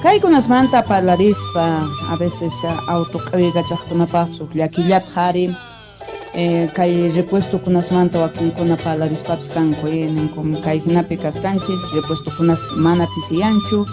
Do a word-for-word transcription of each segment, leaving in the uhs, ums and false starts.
Kaykunasmanta parlarispa a veces auto q'awikachaqkunapaq huk llakillata qhari eh, kay repuestokunasmanta wakinkuna parlarispapis kanku eh, ninku kay hinapi kaskanchis repuestokunas mana pisiyanchu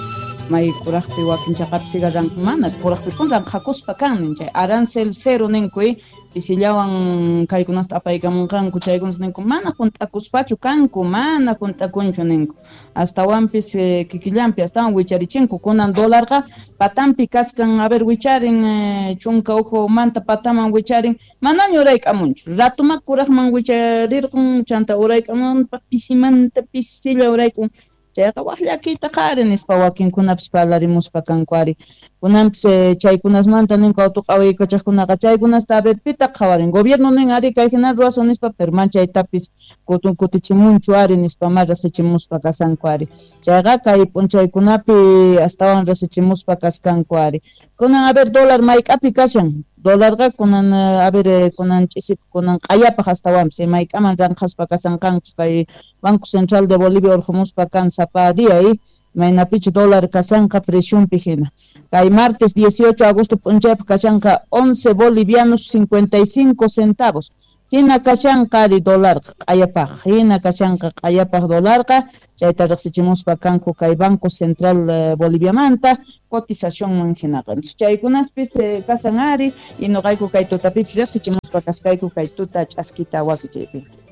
may kuraqpi wakin chaqapi sigarranku mana kuraqpi pun ranqhakuspa kan nin chay arancel cero ninku eh, pisillawan kaykunasta apaykamunqanku chaykunas ninku mana hunt'akuspachu kanku mana hunt'akunchu ninku astawanpis eh, kikillanpi astawan wicharichinku kunan dólarqa patampi kaskan a ver wicharin eh, chunka uhu manta pataman wicharin manaña urayk'amunchu ratuma kuraqman wicharirqun chanta urayk'amunpaq pisimanta pisilla urayk'un chayqa waq llakiyta qhari nispa wakinkunapis parlarimuspa kanku ari kunanpis eh, chaykunasmanta ninku auto q'awaykachaqkunaqa chaykunasta a ver pitaq qhawarin gobierno nin ari kay hina ruwasun nispa pero man chaytapis kutun kutichimunchu ari nispa ma riqsichimuspa kasanku ari chayqa kay p'unchaykunapi astawan riqsichimuspa kaskanku ari kunan a ver dólar mayk'api kashan dólarqa kunan a ver kunan ch'isi kunan q'ayapaq astawanpis mayk'aman ranqhaspa kasanqanku kay Banco Central de Bolivia urqumuspa kan sapa día eh maynapichu dólar kasanqa preciunpi hina kay martes dieciocho de agosto p'unchaypaq kashanqa once bolivianos cincuenta y cinco centavos hina kashanqa ari dólarqa q'ayapaq hina kashanqa q'ayapaq dólarqa chayta riqsichimuspa kanku kay Banco Central eh, Boliviamanta cotizacionman hinaqa chaykunaspis eh, kasan ari y nuqayku kay tutapipis riqsichimuspa kaskayku kay tuta ch'askita wakichaypi.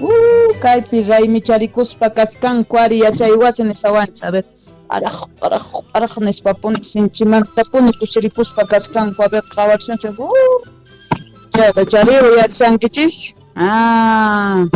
Uh, kaypi raymicharikuspa kaskanku ari yachay wasi nishawanchik a ver araj araj araj nispapuni sinchimantapuni kusirikuspa kaskanku a ver qhawachisunchik uh, chayqa chari uyarishankichis ah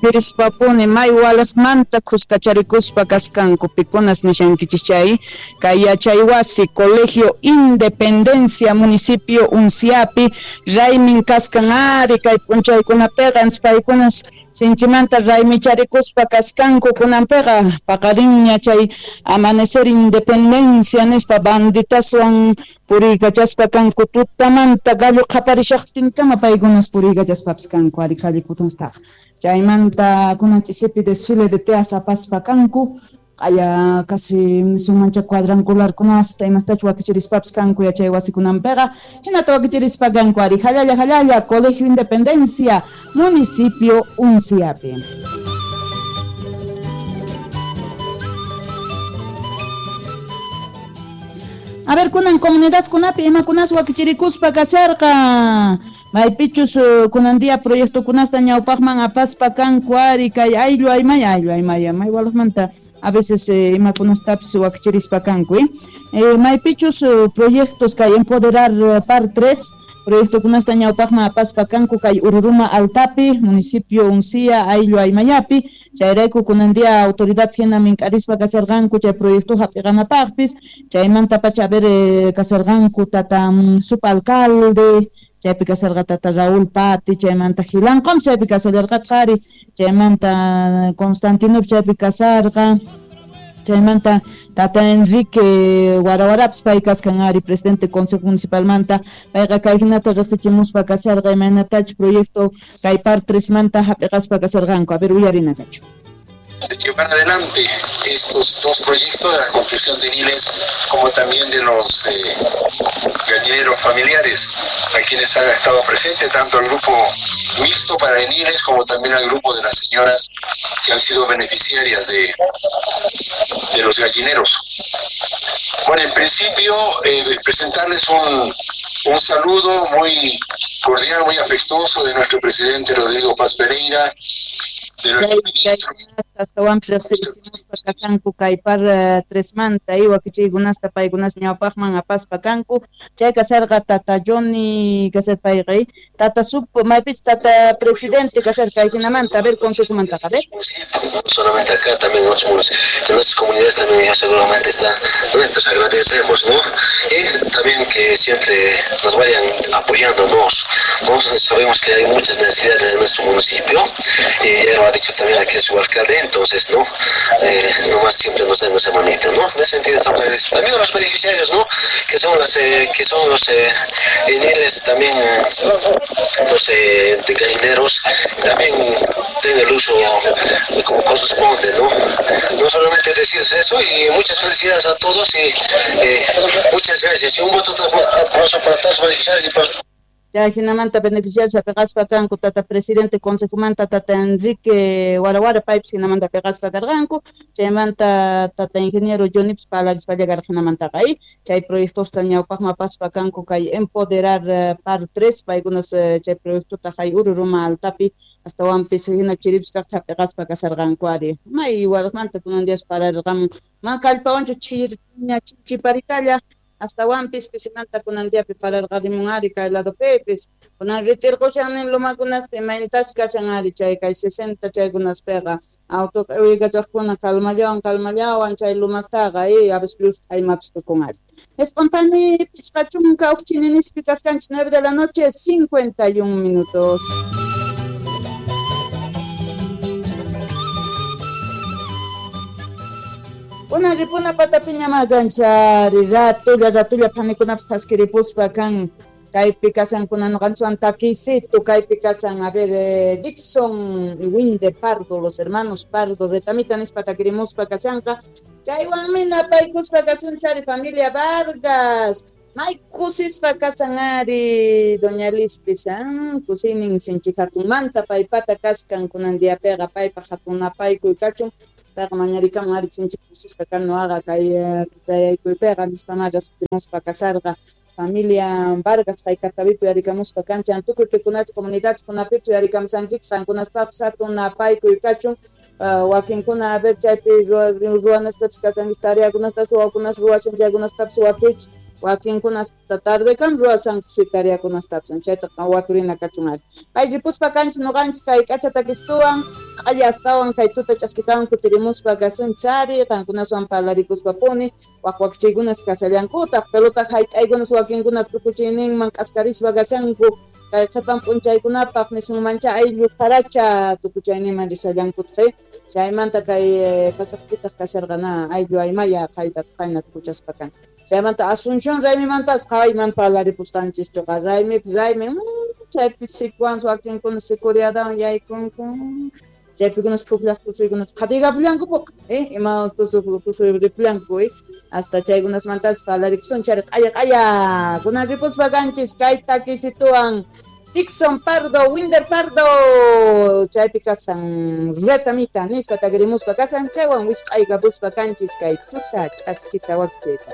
pirispapuni may waliqmanta kuskacharikuspa kaskanku pikunas nishankichis chay kay yachay wasi Colegio Independencia municipio Unciapi raymin kaskan ari kay p'unchaykunapiqa paykunas sinchimanta raymicharikuspa kaskanku kunanpiqa paqarinña chay amanecer independencia nispa banditaswan puriykachaspa kanku tutamanta gallo qhaparishaqtinkama paykunas puriykachaspapis kanku ari callekunastaqa chaymanta kunan ch'isipi desfile de teas apaspa kanku q'aya casi nisunmancha cuadrangularkunasta imastachu wakichirispapis kanku yachay wasikunanpiqa hinata wakichirispa kanku ari jallalla jallalla Colegio Independencia municipio Unciapi. A ver, kunan comunidadkunapi imakunas wakichirikuspa kasharqa maypichus kunan día proyectokunasta ñawpaqman apaspa kanku ari kay ayllu aymay ayllu aymay may walaqmanta a veces eh, imakunastapis wakichirispa kanku eh? Eh, maypichus proyectos kay empoderar par tres proyectokunasta ñawpaqman apaspa kanku kay Ururuma Altapi municipio Uncia ayllu aymayapi chayrayku kunan día autoridad hina mink'arispa kasharqanku chay proyecto hap'iqanapaqpis chaymanta pacha a ver eh, kasharqanku tata um, subalcalde chaypi kasharqa tata Raúl Pati chaymanta Gilanqom chaypi kashallarqataq ari chaymanta Constantino chaypi kasarqa chaymanta tata Enrique Warawarapis pay kaskan ari presidente consejo municipalmanta payqa kay hinata riqsichimuspa kasharqa imaynatachu proyecto kay par tresmanta hap'iqaspa kasharqanku a ver uyarina kachu. De llevar adelante estos dos proyectos de la construcción de niles como también de los eh, gallineros familiares, a quienes han estado presentes tanto el grupo mixto para eniles como también al grupo de las señoras que han sido beneficiarias de, de los gallineros. Bueno, en principio eh, presentarles un, un saludo muy cordial, muy afectuoso de nuestro presidente Rodrigo Paz Pereira, de nuestro ministro. Astawanpis riqsirichimuspa kashanku kay par tresmanta y wakichiykunasta paykunas ñawpaqman apaspa kanku chay kasharqa tata Johnny kasar payqa tata sub maypich tata presidente kasar kay hinamanta a ver consejomantaqa a ver. No solamente acá, también en otros, en otras comunidades también ya seguramente está, ¿no? Entonces agradecemos, ¿no? Y también que siempre nos vayan apoyándonos, ¿no? Sabemos que hay muchas necesidades en nuestro municipio y ya lo ha dicho también aquí su alcalde, entonces, ¿no? Eh, nomás siempre nos den esa manita, ¿no? En ese sentido estamos agradecidos. También a los beneficiarios, ¿no? Que son las, eh, que son los eh, eniles, también eh, los eh, de gallineros, también tienen el uso uso como corresponde, ¿no? No solamente decirles eso, y muchas felicidades a todos y eh, muchas gracias. Y un voto de aplauso para todos los beneficiarios y para... Ya hinamanta beneficiarios apeqaspa kanku tata presidente consejomanta tata Enrique Warawara paypis hinamanta apeqaspa karqanku, chaymanta tata ingeniero Jonips parlarispalla karqa hinamantaqa y chay proyectosta ñawpaqman apaspa kanku kay empoderar par tres paykunas chay proyectota hay Ururuma altapi astawanpis hina chiripis kaqta apeqaspa kasarqanku ari may waraqmanta kunan días pararqamun man kallpawanchu chirña chiparitalla astawanpis pisimanta kunan diapi pararqarimun ari kay ladopipis kunan ritirqushan lumakunaspi imaynatash kashan ari chay kay sesenta chaykunaspiqa auto q'iwiykachaqkuna kalmallawan kalmallawan chay lumastaqa y a veces llust'aymapis tukun ari. Espontani pichqa chunka huk chininispi kaskanchis nueve de la noche cincuenta y un minutos. Una ripuna patapiña maganchari ratulla ratulla panikunapis thaskiripuspa kan kaypi kasankuna ñuqanchikwan takisito kaypi kasan a ver eh, Dixon y Winder Pardo, los hermanos Pardo retamita nispa takirimuspa kasanqa chaywanmi napaykuspa kasunchari familia Vargas may kusisqa kasan ari doña Lispis ah, kusinin sinchi hatunmanta paypata kaskan kunan diapiqa paypaq hatun napaykuy kachun payqa mañarikamun ari sinchi kusisqa kan nuqaqa kay tutayaykuypiqa nispa riqsimuspa kasarqa familia Vargas hayk'aqtapipi yarikamuspa kanchan tukuy pikunachu comunidadkunapichu yarikamusankichik qankunaspaqpis hatun napaykuy kachun wakinkuna a ver chaypi ruwanastapis kasankichik tareakunastapis wawakunas ruwashan chaykunastapis watuychik wakinkunasta tardekam ruwasanku si tareakunastapis chaytaqa waturina kachun ari pay ripuspa kanchik ñuqanchik kay k'acha takistuwan q'alla astawan kay tuta ch'askitawan kutirimuspa kasunchik ari qankunaswan parlarikuspapuni waq wakichiykunas kasallankutaq pelota hayt'aykunas wakinkuna tukuchiyninman k'askarispa kasanku kay qhipan p'unchaykunapaq nisunmancha ayllu qaracha tukuchayninman risallankutaq chaymanta kay pasaqpitaq kasarqana ayllu aymaya qayta qayna tukuchaspa kan chaymanta Asunción raymimantas qhawayman parlaripusqanchischuqa raymipis raymi chaypi sikuwan wakinkuna securidawan yaykunku chaypikunas pukllaq tusuykunas qhatigapullankupuq eh ima tusuy tusuyripullanku eh hasta chaykunasmantas parlarikusun chayri q'aya q'aya kunan ripuspa kanchis kay takisituwan Dixon Pardo, Winder Pardo chaypi kasan retamita nispa takirimuspa kasan chaywan wisq'aykapuspa kanchis kay tuta ch'askita wakichayta.